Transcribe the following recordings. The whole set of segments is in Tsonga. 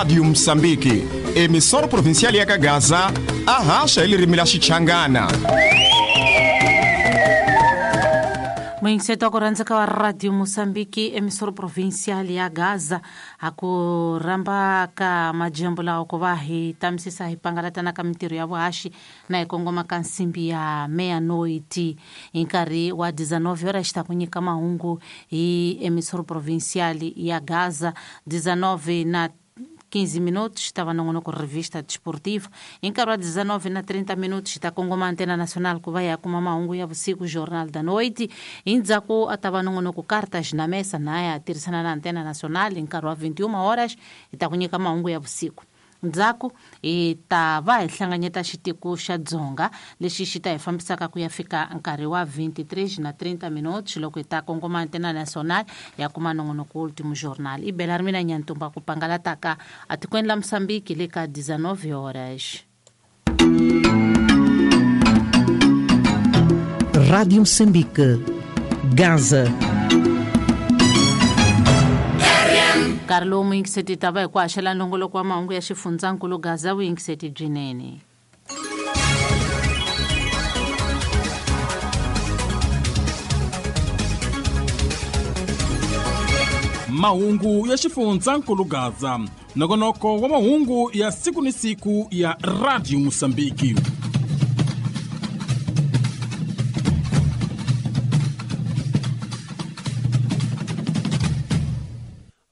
Rádio Moçambique, emissora provincial ya Gaza, arracha ele rimila Xichangana. Muyingiseto wa ku rhandzeka wa Radio Moçambique, emissora provincial ya Gaza, a ku rhamba ka majembu lawa ku va hi tamisisa hi pangalatana ka mintirho ya vuhaxi na hi kongoma ka nsimbi ya meia-noite hi nkarhi wa 19 horas xi ta ku nyika mahungu hi emissora provincial ya Gaza. 19 na 15 minutos ta va nongonoko revista desportiva. Hi nkarhi wa 19 na 30 minutos ta kongoma Antena Nacional ku va ya kuma mahungu ya vusiku, Jornal da Noite. Hi ndzhaku a ta va nongonoko Cartas na Mesa na ya tirhisana na Antena Nacional. Hi nkarhi wa 21 horas hi ta ku nyika mahungu ya vusiku. Ndzhaku hi ta va hi hlanganyeta xitiko xa Dzonga lexi xi ta hi fambisaka ku ya fika nkarhi wa 23 na 30 minutos loko hi ta kongoma Antena Nacional ya kuma nongonoko Último Jornal. I bela ri mina Nyantumba ku pangalataka atikweni la Moçambique le ka 19 horas. Rádio Moçambique, Gaza. Nkarhi lowu muyingiseti ta va hi ku haxela nongoloko wa mahungu ya xifundzankulu Gaza, vuyingiseti byinene. Mahungu ya xifundzankulu Gaza, nongonoko wa mahungu ya siku ni siku ya Radio Moçambique.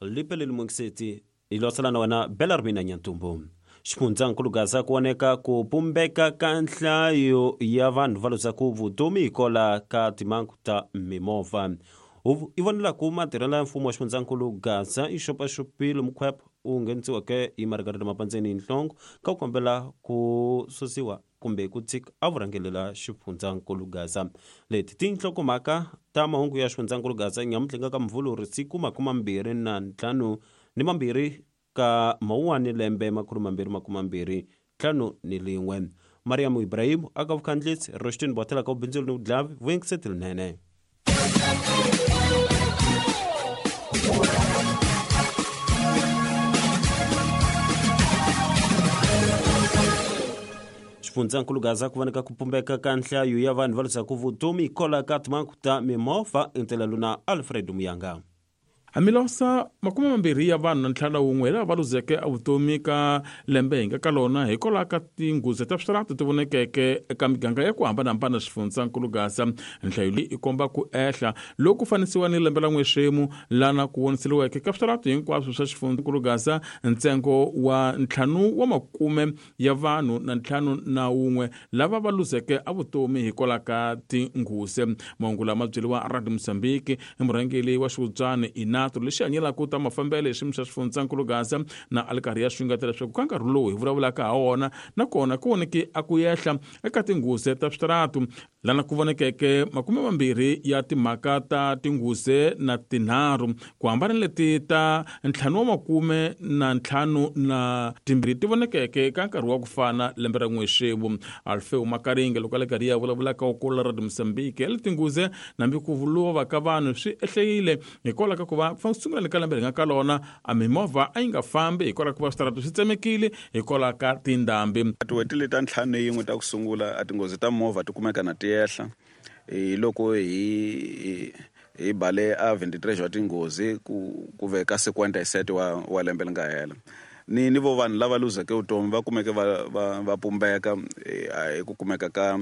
Lipeleli mungiseti ilosala na wena Belarmina Nyantumbu. Xifundzankulu Gaza ku voneka ku pumbeka ka nhlayo ya vanhu va luzaka vutomi hikola ka timhangu ta mimovha. I vonela ku matirhelo ya mfumo wa xifundzankulu Gaza i xopaxopile mukhwepo u nghenisiweke hi Margarita Mapandzeni Nhlongo ka ku kombela ku susiwa kumbe ku tshika a vurhangelela xifundzankulu Gaza. Leti tinhlokomhaka ta mahungu ya xifundzankulu Gaza nyamutlha ka Mvhulu siku 25 ka Mawuwani lembe 2025. Mariam Ibrahim aka vukhandlisi, Rostin Botela ka ubindzuli ni vudlavi, vuyingiseti linene. Xifundzankulu Gaza ku voneka ku pumbeka ka nhlayo ya vanhu va luzaka vutomi hikola ka timhangu ta mimovha. Intela luna Alfred Muyanga. Hamilosa 20 ya vanhu na 51 lava va luzeke evutomi ka lembe hi nga ka lona hikwalaho ka tinghozi ta switarata ti vonekeke eka miganga ya ku hambanahambana xifundzankulu Gaza. Nhlayo leyi i komba ku ehla loku fanisiwa ni lembe la n'wexemu lana ku voniseriweke ka switarata hinkwaswo swa xifundzankulu Gaza ntsengo wa 5 wa makume ya vanhu na 51 lava va luzeke evutomi hikwalaho ka tinghozi. Mahungu lama byeriwa Radio Moçambique i murhangeri wa xivudzani ina lexi hanyelaka ta mafambelo hi xiyimo xa xifundzankulu Gaza na a li karhi ya xungeta leswaku ka nkarhi lowu hi vulavulaka ha wona nakona ku voneke a ku ehla eka tinghozi ta switaratu lana ku vonekeke 20 ya timhaka ta tinghozi na 3 ku hambana leti ta 5 na 52 ti vonekeke ka nkarhi wa ku fana lembe ra n'wexevu. Alfeo Makaringe loko a le karhi ya vulavulaka kula Radio Moçambique le tinghozi nambi ku lova ka vanhu swi ehlekile hikwalaho ka ku va sungula ka lembe ri nga ka lona a mimovha a yi nga fambi hikwalaho ka va switarata swi tsemekile hikwalaho ka tindhambi. Tin'hweti leti ta 51 ta ku sungula a tinghozi ta movha ti kumeka na ti ehla hi loko hi bale a 23 wa tinghozi ku veka 57 wa lembe li nga hela. Ni vo vanhu lava luzeke vutomi va kumeke va pumbeka hi ku kumeka ka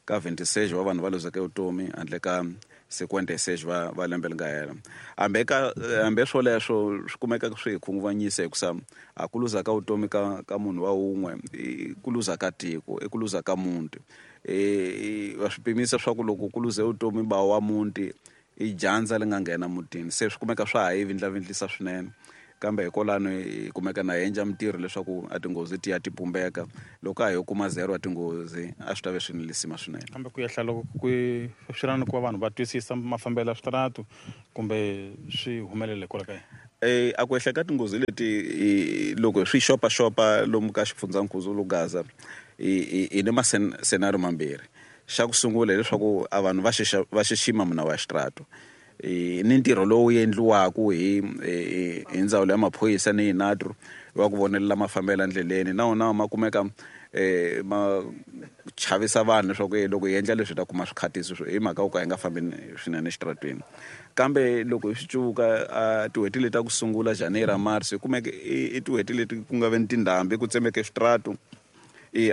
26 wa vanhu va luzeke vutomi handle ka 56 va lembe li nga hela. Hambi swoleswo swi kumeka swi hi khunguvanyisa hikusa a ku luza ka vutomi ka munhu wa wun'we i ku luza ka tiko, i ku luza ka muti. Va swi pimisa swa ku loko ku luze vutomi ba wa muti i dyandza li nga nghena mutini, se swi kumeka swa ha yi vindlavindlisa swinene. Kambe hikwalano hi kumeka na hi endla mintirho leswaku a tinghozi ti ya ti pumbeka. Loko a hi yo kuma 0 wa tinghozi a swi ta ve swi ni lisima swinene. Kambe ku ehla loko ku swi na ku va vanhu va twisisa mafambelo ya switaratu kumbe swi humelele hikwalaho ka yini? A ku ehla ka tinghozi leti loko swi xopaxopa lomu ka xifundzankulu Gaza hi ni masenario mambirhi. Xa ku sungula hileswaku a vanhu va xixima munawu wa xitaratu. Ni ntirho lowu endliwaka hi ndzawulo ya maphorisa ni INATRO wa ku vonelela mafambelo endleleni, na wona ma kumeka ma chavisa vanhu leswaku loko hi endla leswi hi ta kuma swikhatiso hi mhaka yo ka hi nga fambi swinene exitarateni. Kambe loko hi swi cuvuka tin'hweti leti ta ku sungula January, March, hi kumeke i tin'hweti leti ku nga ve ni tindhambi, ku tsemeke switaratu,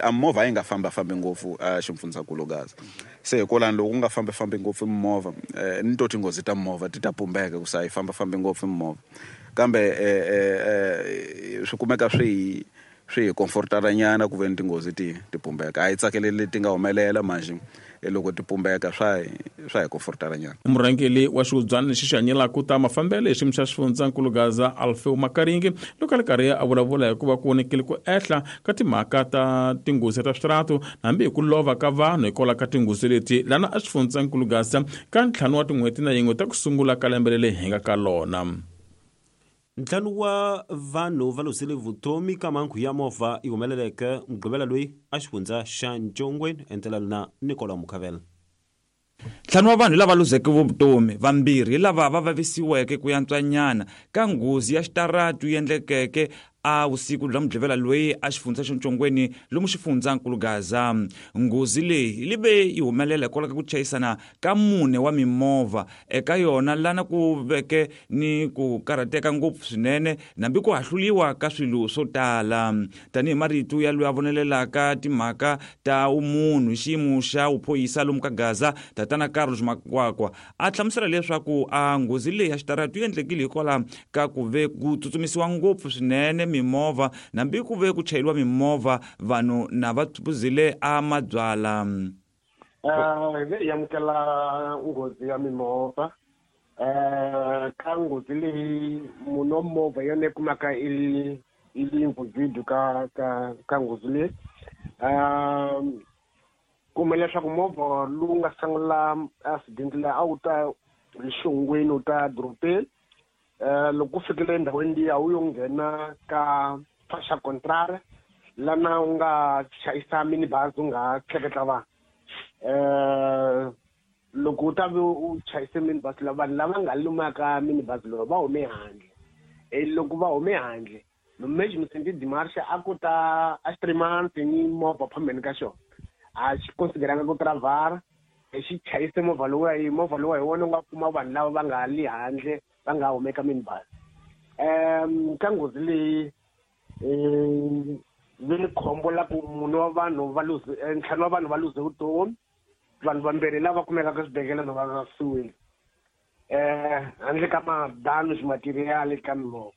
a movha a yi nga fambafambi ngopfu a ximfundzankulu Gaza. Se hikwalani loko ku nga fambafambi ngopfu mimovha, ni to tinghozi ta mimovha ti ta pumbeka ku se a yi fambafambi ngopfu mimovha. Kambe swi kumeka swi hi comfortara nyana ku ve ni tinghozi ti pumbeka. A hi tsakeleli leti nga humelela manjhe loko ti pumbeka swa hi comfortara nyana. Murhangeri wa xihubyana lexi xi hanyelaka ta mafambelo hi xiyimo xa xifundzankulu Gaza, Alfeo Makaringi, loko a ri karhi a vulavula hi ku va ku vonekile ku ehla ka timhaka ta tinghozi ta switaratu hambi hi ku lova ka vanhu hikwalaho ka tinghozi leti lana a xifundzankulu Gaza ka 5 wa tin'hweti na yin'we ta ku sungula ka lembe leri hi nga ka lona. 5 wa vanhu va luzile vutomi ka mhangu ya movha yi humeleleke Mugqivela loyi a xifundza xa Ntshongweni, endzela na Nicola Mukhavela. 5 wa vanhu lava luzeke vutomi, 2 hi lava va vavisiweke ku yantswanyana ka nghozi ya xitaratu yi endlekeke a vusiku bya Mugqivela loyi a xifundza xa Ntshongweni lomu xifundzankulu Gaza. Nghozi leyi yi ve yi humelela hikwalaho ka ku chayisana ka 4 wa mimovha eka yona, lana ku veke ni ku karhateka ngopfu swinene nambi ku hahluliwa ka swilo swo tala. Tanihi marito ya loyi a vonelelaka timhaka ta umunhu hi xiyimo xa vuphorisa lomu ka Gaza, Tatana Carlos Makwakwa, a hlamusela leswaku a nghozi leyi ya xitaratu yi endlekile hikwalaho ka ku ve ku tsutsumisiwa ngopfu swinene mimovha nambi ku ve ku chayeriwa mimovha vanhu na va phuzile a mabyala. Hi amukela nghozi ya mimovha. Ka nghozi leyi munhu wa movha yona yi kumaka i li involved ka nghozi leyi. Kuma leswaku movha lowu nga sungula accident leyi a wu ta hi xihungwini wu ta dorobeni. Loko ku fikile endhawini liya wu yo nghena ka faixa contraire lana u nga chayisa minibus u nga tleketla vanhu. Loko u ta ve u chayise minibus la vanhu lava nga lumaka minibus lowu va hume handle. Loko va hume handle, no mesmo sentido de marcha a ku ta a 3 months ni movha phambeni ka xona. A xi consideranga ku travar, xi chayise movha lowu hi movha lowu hi wona u nga kuma vanhu lava va nga li handle va nga humeka minibus. Ka nghozi leyi vi ni khombo la ku munhu wa vanhu va luze 5 wa vanhu va luze vutomi, vanhu vambirhi lava kumekaka eswibedhlele va vavisiwile. Handle ka ma-damage material ka mimovha.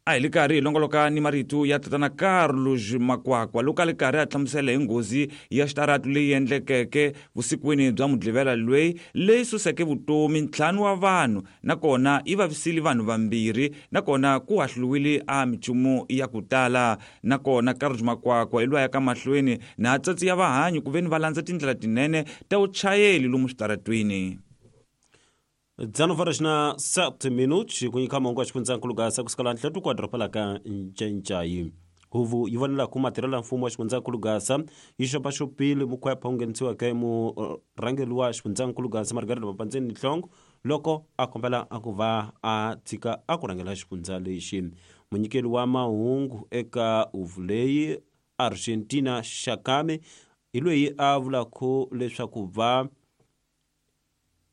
A hi le karhi hi longoloka ni marito ya Tatana Carlos Makwakwa loko a le karhi a hlamusela hi nghozi ya xitaratu leyi endlekeke vusikwini bya Mugqivela loyi leyi suseke vutomi 5 wa vanhu nakona yi vavisile vanhu 2 nakona ku hahluliwile a minchumu ya ku tala. Nakona Carlos Makwakwa hi loyi a yaka mahlweni na tsatsi ya vahanyi ku ve ni va landza tindlela tinene ta vuchayeri lomu switaratwini. 19:07 minutos ku nyika mahungu ya xifundzankulu Gaza kusukela nhlatuko wa doroba la ka Ncencai. Huvo yi vonela ku matirhelo ya mfumo wa xifundzankulu Gaza yi xopaxopile mukhwepha wu nghenisiweke murhangeri wa xifundzankulu Gaza Margaret Mapandzeni Nhlongo loko a kombela a ku va a tshika a ku rhangela xifundza lexi. Munyikeli wa mahungu eka huvo leyi Argentina Shakame hi loyi a vulaka leswaku va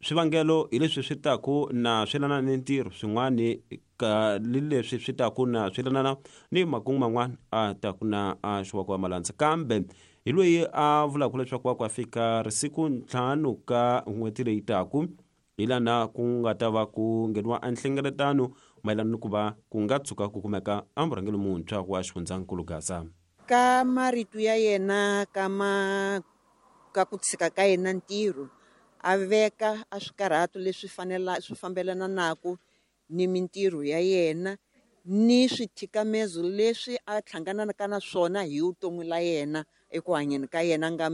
swivangelo hi leswi swi taku na swelana ni ntirho swin'wani ka leswi swi taku na swelana ni makungu man'wana a taku na a xiwako wa malandza. Kambe hi loyi a vulaka leswaku wa ku a fika risiku 5 ka n'hweti leyi taku hi lana ku nga ta va ku ngheniwa enhlengeletano mayelana ni ku va ku nga tshuka ku kumeka a murhangeri muntshwa wa xifundzankulu Gaza. Ka marito ya yena ka ku tshika ka yena ntirho, a veka a swikarhato leswi fanela swi fambelana naku ni mintirho ya yena ni swithikamezo leswi a hlanganaka na swona hi vutomi la yena eku hanyeni ka yena nga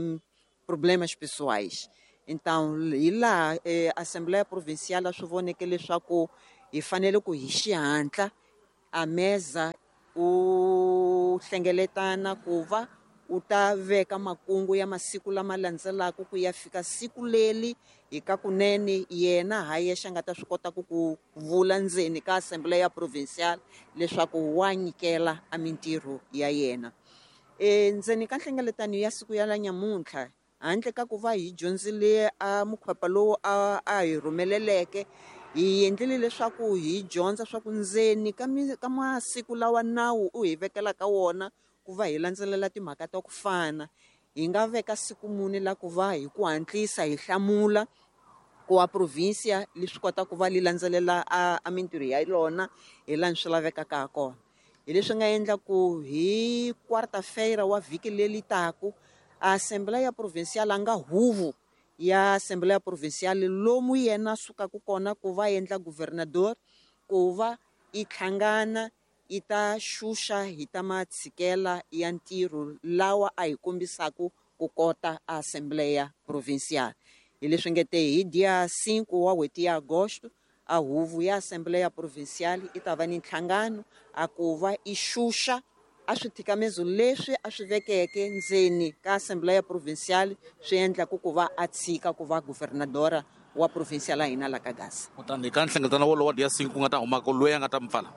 problemas pessoais. Então hi laha Assembleia Provincial swi voneke leswaku hi fanele ku hi xihatla a meza u hlengeletana ku va U ta veka makungu ya masiku lama landzelaka ku ya fika siku leri hi ka kunene yena ha yexe a nga ta swi kota ku vula ndzeni ka Assembleia Provincial leswaku wa nyikela a mintirho ya yena. Ndzeni ka nhlengeletano ya siku ya la nyamuntlha, handle ka ku va hi dyondzile a mukhwepa lowu a hi rhumeleleke, hi endlile leswaku hi dyondza swa ku ndzeni ka masiku lawa nawu u hi vekelaka wona ku va hi landzelela timhaka ta ku fana, hi nga veka siku muni la ku va hi ku hatlisa hi hlamula ku wa provincia leswi kota ku va li landzelela a mintirho ya yona hi laha swi lavekaka ha kona. Hi leswi nga endla ku hi quarta-feira wa vhiki leri taku, Assembleia Provincial a nga huvo ya Assembleia Provincial lomu yena sukaka kona ku va endla governador, ku va i hlangana i ta xuxa hi ta matshikela ya ntirho lawa a hi kombisaka ku kota Assembleia Provincial. Hi leswi nge te hi dia 5 wa n'hweti ya Agosto, a huvo ya Assembleia Provincial i ta va ni nhlangano a ku va i xuxa a swithikamezo leswi a swi vekeke ndzeni ka Assembleia Provincial swi endlaku ku va a tshika ku va governadora wa provincia la hina la ka Gaza. Kutani ka nhlengeletano wolowo wa dia 5 ku nga ta humaka loyi a nga ta mi pfala?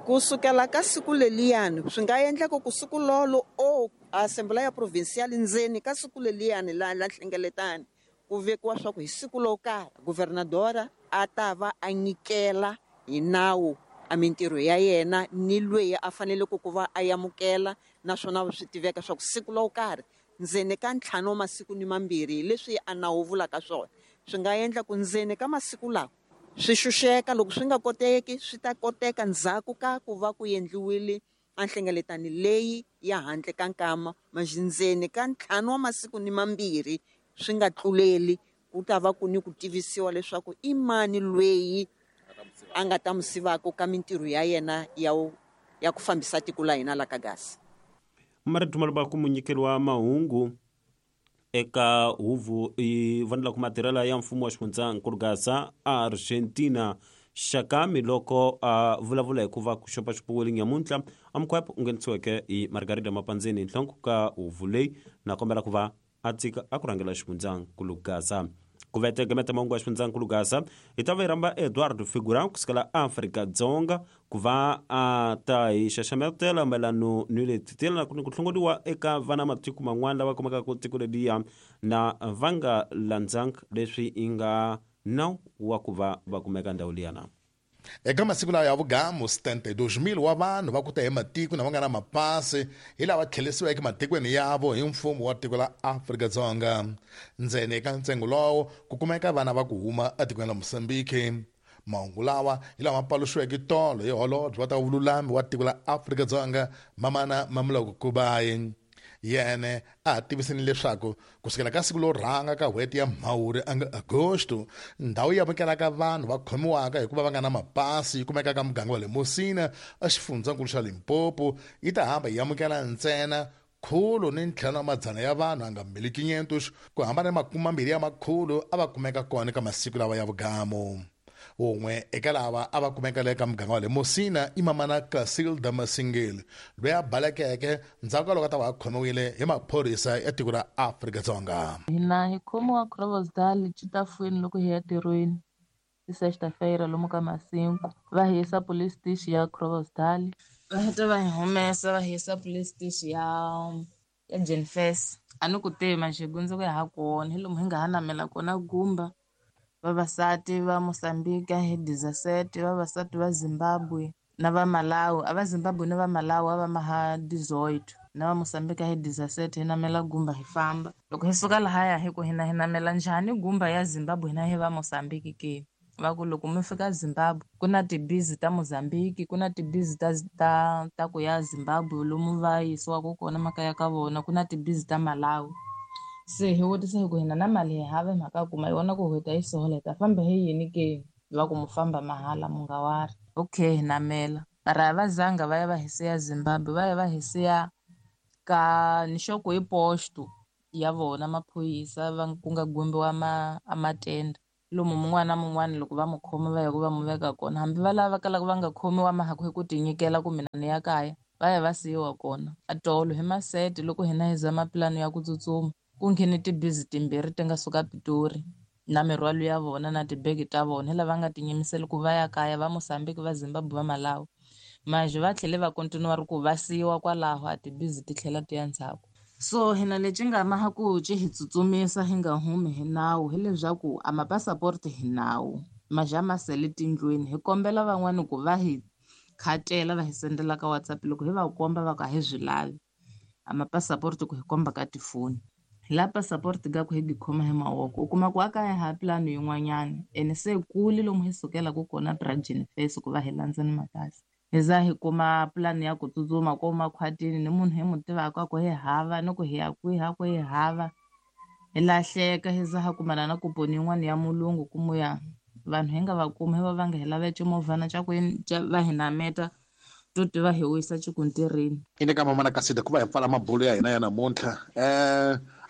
Ku sukela ka siku leliyani swi nga endleka ku siku lolo o Assembleia Provincial ndzeni ka siku leliyani la nhlengeletano ku vekiwa swa ku hi siku lo karhi governadora a ta va a nyikela hi nawu a mintirho ya yena ni loyi a faneleke ku va a amukela, naswona swi tiveka swa ku siku lo karhi ndzeni ka 5 wa masiku ni 2 leswi a nawu vulaka swona. Swi nga endla ku ndzeni ka masiku lawa swi xuxeka, loko swi nga koteki swi ta koteka ndzhaku ka ku va ku endliwile a nhlengeletano leyi ya handle ka nkama, ndzeni ka 5 wa masiku ni 2 swi nga tluleli, ku ta va ku ni ku tivisiwa leswaku i mani loyi a nga ta musivaka ka mintirho ya yena ya ku fambisa tiko la hina la ka Gaza. Marito malova ku munyikeri wa mahungu eka huvo yi vonela ku matirhelo ya mfumo wa xifundzankulu Gaza Argentina Xakami loko a vulavula hi ku va ku xopaxopiwile nyamuntlha a mukhwepo u nghenisiweke hi Margarida Mapandzeni nhloko ka huvo leyi na kombela ku va a tshika a ku rhangela xifundzankulu Gaza. Ku vete gameta mahungu ya xifundzankulu Gaza hi ta va hi rhamba Eduardo Figura kusukela Afrika-Dzonga ku va a ta hi xaxametela mayelano ni leti ti yelanaku ni ku hlongoriwa eka vana matiko man'wana lava kumekaka tiko leriya na va nga landzanga leswi yi nga nawu wa ku va va kumeka ndhawu liyana. Eka masiku lawa ya vugamu, 72,000 wa vanhu va ku ta hi matiko na va nga na mapasi hi lava tlhelisiweke matikweni yavo hi mfumo wa tiko la Afrika-Dzonga. Ndzeni eka ntsengo lowo ku kumeka vana va ku huma etikweni la Mozambique. Mahungu lawa hi lama paluxiweke tolo hi holobye wa ta vululami wa tiko la Afrika-Dzonga Mamana Mamoloko Kubayi. Yena a tivisini leswaku kusukela ka siku lo rhanga ka n'hweti ya Mhawuri anga Agosto, ndhawu yi amukelaka vanhu va khomiwaka hikuva va nga na mapasi yi kumeka ka muganga wa le Musina exifundzankulu xa Limpopo yi ta hamba yi amukela ntsena 150 ya vanhu anga 1500 ku hambana na 20 ya makhulu a va kumeka kona ka masiku lawa ya vugamu. Wun'we eka lava a va kumeka le ka muganga wa le Musina i Mamana Casilda Masingeli loyi a balekeke ndzhaku ka loko a ta va a khomiwile hi maphorisa ya tiko ra Afrika-Dzonga. Hina hi khomiwa Groblersdal Chitafweni loko hi ya ntirhweni hi sexta-feira lomu ka masinku va hi yisa police station ya Groblersdal, va heta va hi humesa va hi yisa police station ya Jenfes. A ni ku tivi manjhe gundzuku ya ha kona hi lomu hi nga ha namela kona gumba. Vavasati va Mozambique hi 17, vavasati va Zimbabwe na va Malawi, a va Zimbabwe na va Malawi a va maha 18, na va Mozambique hi 17 hi namela gumba hi famba. Loko hi suka lahaya hi ku hina hi namela njhani gumba ya Zimbabwe hina hi va Mozambique ke? Va ku loko mi fika Zimbabwe ku na tibizi ta Mozambique, ku na tibizi ta ku ya Zimbabwe lomu va yisiwaka kona makaya ka vona, ku na tibizi ta Malawi. Se hi vutisa hi ku hina na mali hi hava mhaka kuma yona ku hi ta yi sola hi ta famba hi yini ke? Va ku mu famba mahala mu nga wari. Okay, hi namela. Mara a va zanga va ya va hi siya Zimbabwe, va ya va hi siya ka nxoko hi posto ya vona maphorisa va ku nga gumbiwa a matende. Lomu mun'wana na mun'wana loko va mu khoma va ya ku va mu veka kona, hambi va lava kalaka va nga khomiwa mhaka hi ku tinyikela ku mina ni ya kaya. Va ya va siyiwa kona. A tolo hi masete loko hina hi zama pulani ya ku tsutsuma, ku nghene tibizi timbirhi ti nga suka Pitori na mirhwalo ya vona na tibege ta vona, hi lava nga tinyimiseli ku va ya kaya, va Mozambique, va Zimbabwe, va Malawi. Manje va tlhele va continue ri ku va siyiwa kwalaho, a tibizi ti tlhela ti ya ndzhaku. So hina lexi nga maha ku ci hi tsutsumisa hi nga humi hi nawu hileswaku a mapasapoti hi nawu maja ma sele tindlwini. Hi kombela van'wani ku va hi khatela va hi sendela ka WhatsApp, loko hi va komba va ku a hi swi lavi a mapasapoti ku hi komba ka tifoni. La pasapoti ka ku hi khoma hi mavoko, u kuma ku a kaya ha pulani yin'wanyana ene se kule lomu hi sukelaka kona Brajini Face ku va hi landza ni mapasi. Hi za hi kuma pulani ya ku tsutsuma ko makhwatini ni munhu hi mu tivaka ku hi hava ni ku hi ya kwihi a ku hi hava, hi lahleka. Hi za ha kumana na kuponi yin'wana ya mulungu ku muya vanhu hi nga va kumi, hi va va nga hi lava ximovhana xa ku va hi nameta to tiva hi wisa xikuntirini. Ine ka mamana Kasida ku va hi pfala mabulo ya hina ya namuntlha,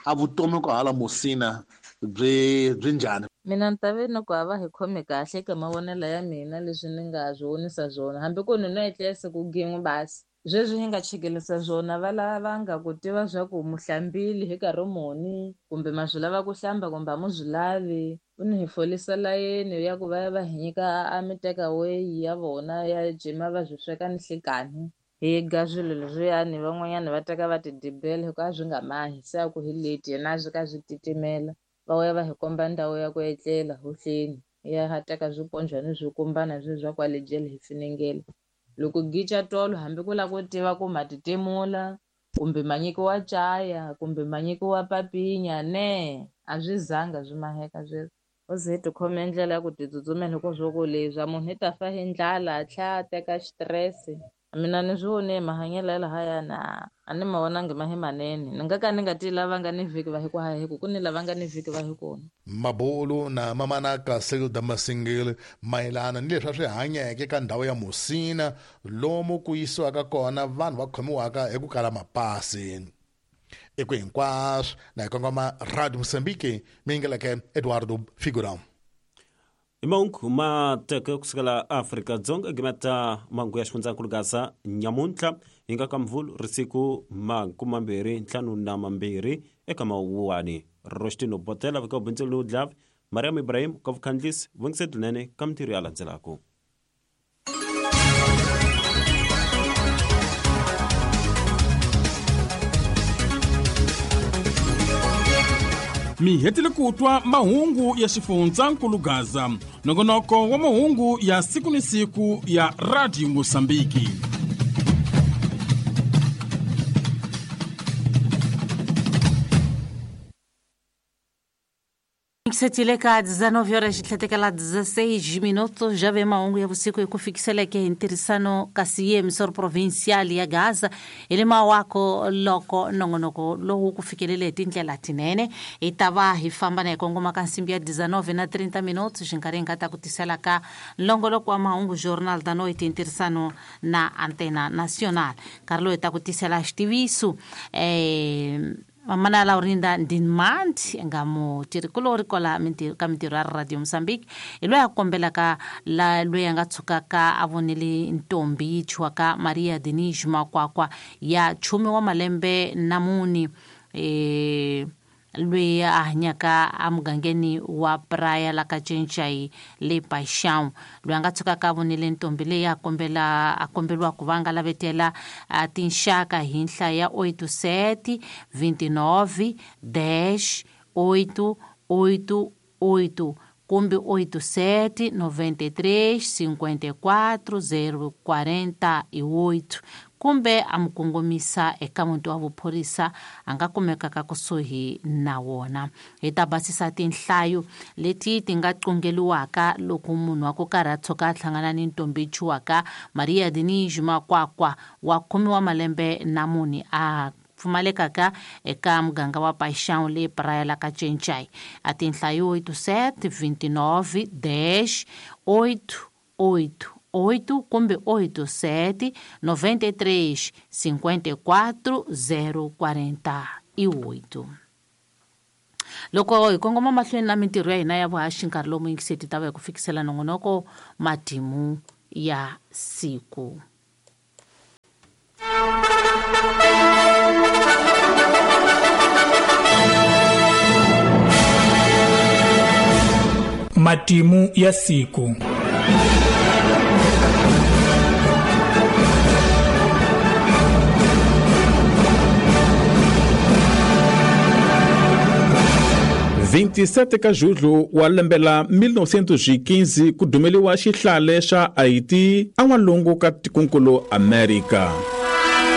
a vutomi ku hala Musina byi njhani? Mina ni ta ve ni ku a va hi khome kahle ka mavonelo ya mina leswi ni nga swi vonisa swona, hambi ku ni no etlela siku gin'we basi sweswi hi nga chekelisa swona, va lava nga ku tiva swa ku muhlambile hi nkarhi muni, kumbe ma swi lava ku hlamba kumbe a mu swi lavi. U ni hi folisa layeni ya ku va ya va hi nyika a mi teka way ya vona ya jima va swi sweka ni nhlikani. Hi ga swilo leswiyani, van'wanyana va teka va tidibela hikuva a swi nga mahi, se a ku hi late yena a swi ka swi titimela. Va ya va hi komba ndhawu ya ku etlela hohleni, ya ha teka swiponjwana swi kumbana sweswi swa kwale jele hi finengela. Loko gicha tolo hambi ku lava ku tiva ku ma titimula kumbe ma nyikiwa caya kumbe ma nyikiwa papinya ne, a swi zanga swi maheka sweswo. U ze hi tikhome ndlela ya ku titsutsumela hikuva swo ku leswi munhu i ta fa hi ndlala a tlhela a teka xitirese. Mina ni swi vone mahanyelo ya lahayana a ni ma vonangi ma hi manene, ni nga ka ni nga ti lava nga ni vhiki va hi ku hayi ku ni lava nga ni vhiki va hi kona. Mabulu na mamana Casilda Masingile mayelana ni leswi a swi hanyeke ka ndhawu ya Musina lomu ku yisiwaka kona vanhu va khomiwaka hi ku kala mapasi. Eku hinkwaswo na hi kongoma Radio Mozambique mi yingeleke Eduardo Figurão. Mahungu ma teke kusukela Afrika-Dzonga gimeta mahungu ya xifundzankulu Gaza nyamuntlha hi nga ka Mvulu risiku 25 eka Mawuwani. Rostino Botela vika ubindzeli ni udlavi Mariam Ibrahim ka vukhandlisi vungisetinene ka mintirho ya landzelaka. Mi hetile ku twa mahungu ya xifundzankulu Gaza, nongonoko wa mahungu ya siku ni siku ya Radio Mosambiki. Setile ka 19 horas tlhetekela 16 minutos, já vem mahungu ya vusiku eku fikiseleke hi ntirhisano kasi ye emisoro provincial ya Gaza hi le mawako loko nongonoko lowu ku fikelele hi tindlela tinene. Hi ta va hi famba na hi kongoma ka nsimbi ya 19 na 30 minutos, xinkarhi hi nga ta ku tisela ka nlongoloko wa mahungu Journal da Noite hi ntirhisano na Antena Nacional. Nkarhi lowu hi ta ku tisela xitiviso Mamana Laurinda Ndinmandi nga mutirhikulori kwala ka mintirho ya Radio Mozambique hi loyi a kombelaka la loyi a nga tshukaka a vonile ntombi yi thyiwaka Maria Denise Makwakwa ya 10 wa malembe na mune, loyi a hanyaka emugangeni wa Praia la ka Cencai le Paixão, loyi a nga tshukaka a vonile ntombi leyi a kombeliwa ku va nga lavetela tinxaka hi nhlayo ya 87 29 10 8 8 8 kumbe 87 93 54 048 kumbe a mu kongomisa eka muti wa vuphorisa a nga kumekaka kusuhi na wona. Hi ta basisa tinhlayo leti ti nga qungeliwaka loko munhu wa ku karhi a tshuka a hlangana ni ntombi thyiwaka Maria Denise Makwakwa wa 10 wa malembe na mune a pfumalekaka eka muganga wa Paixão le Praia la ka Cencai. A tinhlayo 87 29 10 8 8 8 kumbe 87 93 54 048. Loko hi kongoma mahlweni na mintirho ya hina ya vuhaxi nkarhi lowu muyingiseti ta va hi ku fikisela nongonoko matimu ya siku. Matimu ya siku. 27 ka Julho wa lembe la 1915 ku dumeliwa xihlale xa Haiti en'walungu ka tikonkulu Amerika.